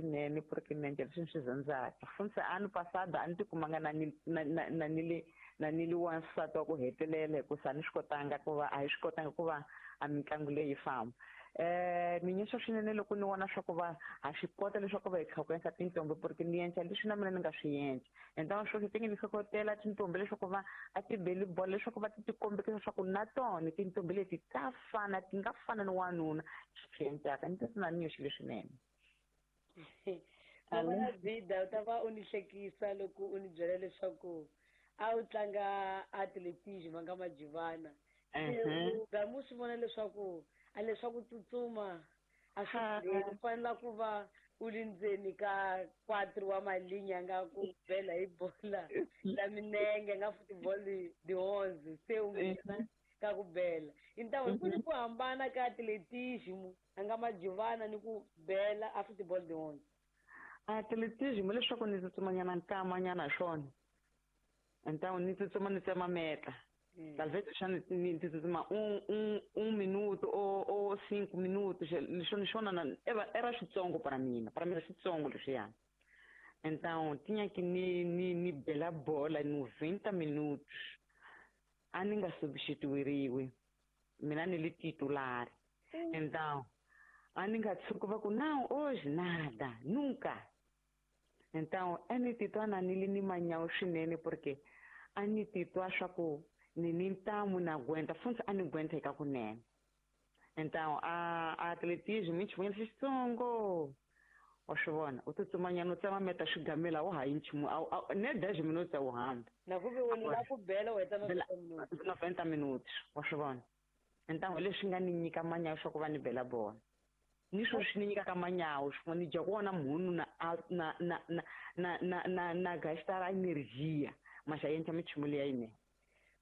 Swinene porque ni endla leswi ni swi rhandzaka. Funtse ano passado a ni tikumanga na ni na na na ni li na ni li wansati wa ku hetelela hikusa a ni swi kotanga ku va a hi swi kotanga ku va a mitlangu leyi yi famba. Ni nyusa swinene loko ni vona swa ku va ha swi kota leswaku va hi tlhokwensa tintombi porque ni endla leswi na mina ni nga swi endla. Então sweswo ti nge ni hlohlotela tintombi leswaku va a ti beli bolo leswaku va ti ti kombekisa swa ku na tona tintombi leti ta fana ti nga fana ni wanuna swi endlaka ni ti na ni nyoxile swinene. Mama Bida u ta va u ni hlekisa loko u ni byela leswaku a wu tlanga atletism nga majivana. Se u gama u swi vona leswaku a leswaku tsutsuma a swi tirheli u fanela ku va u li ndzeni ka quatro wa malinya nga ku bela hi bola la minenge nga football de onze se u nghena ka ku bela. Então ku ni ku hambana ka atletism a nga majivana ni ku bela a football de onze. Atletism leswaku ni tsutsumanyana nkamanyana hi swona. Então ni tsutsuma ni tsema meta. Talvez xa ni tsutsuma un minuto o 5 minutos, leswi ni swona na era switsongo para mina, para mina switsongo leswiyani. Então tinha que ni bela bola 90 minutos. A ni nga substituiriwi, mina ni li titular. Então a ni nga tshuki va ku não hoje nada, nunca. Então a ni titwa na ni li ni manyawu swinene porque a ni titwa swa ku ni ni ntamu na gwenta funtsi a ni gwenta eka kunene. Então a atletism i nchumu xitsongo, wa swi vona, u tsutsumanyana u tsema meta swigamela wa ha yi nchumu ne 10 minutos a wu hambi. Na ku ve wena la ku bela u heta 90 minutos. 90 minutos, wa swi vona. Então hi leswi nga ni nyika manyawu swa ku va ni bela bola, ni swo swi ni nyikaka manyawu swin'we ni dya ku wona mhunu na na na na na na na na gastar energia mas a endla minchumu leya yinene.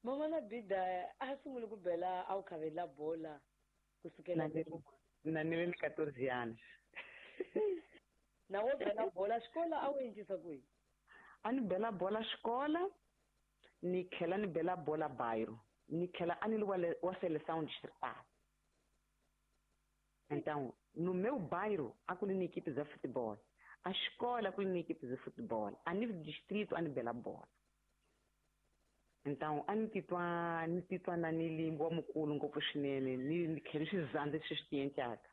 Mama na Bida a sungule ku bela a wu khavela bola kusukela na ni le ni 14 anos. Na wo bela bola xikola a wu endlisa ku yini? A ni bela bola xikola, ni tlhela ni bela bola bairro, ni tlhela a ni li wa seleção distrital. Então no meu bairro a ku li ni equipe za futebol, a escola ku li ni equipe de futebol, a nível de distrito a ni bela bola. Então a ni titwa na ni li wa mukulu ngopfu swinene, ni tlhela ni swi zandza leswi swi ti endlaka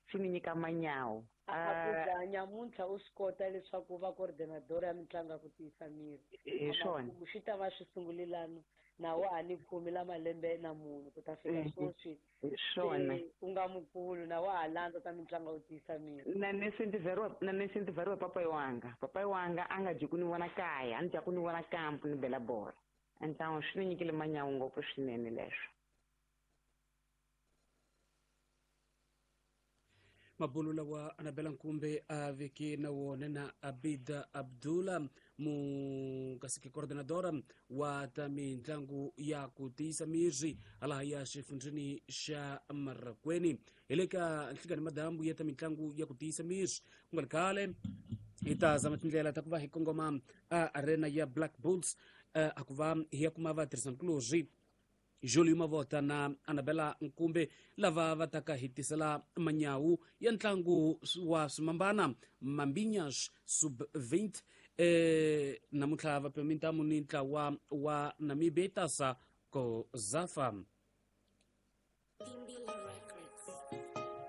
swi ni nyika manyawu. A ku za nyamuntlha u swi kota leswaku u va coordinador ya mitlangu ya ku tiyisa miri. Hi swona. Swi ta va swi sungulelano na wa ha ni khume la malembe na munhu ku ta fika sweswi. Hi swona. U nga mukulu na wa ha landza ta mitlangu ya ku tiyisa miri. Na ni incentivariwa papai wanga. Papai wanga a nga dyi ku ni vona kaya, a ni dya ku ni vona kampo ni bela bola. Então swi ni nyikile manyawu ngopfu swinene leswo. Mabulu lawa Anabela Nkumbe a veke na wona na Abida Abdullah mukasiki coordinadora wa ta mitlangu ya ku tiyisa miri halaha ya xifundzheni xa Marakweni. Hi le ka nhlikani madambu ya ta mitlangu ya ku tiyisa miri. Ku nga ri khale hi ta zama tindlela ta ku va hi kongoma a arena ya Black Bulls, a ku va hi ya kuma vatirhisankulorhi Julio Mavota na Anabela Nkumbe lava va taka hi tisela manyawu ya ntlangu wa swimambana Mambinhas sub 20. Namuntlha va pima mintamu ni ntlawa wa Namibia Tasa Kozafa.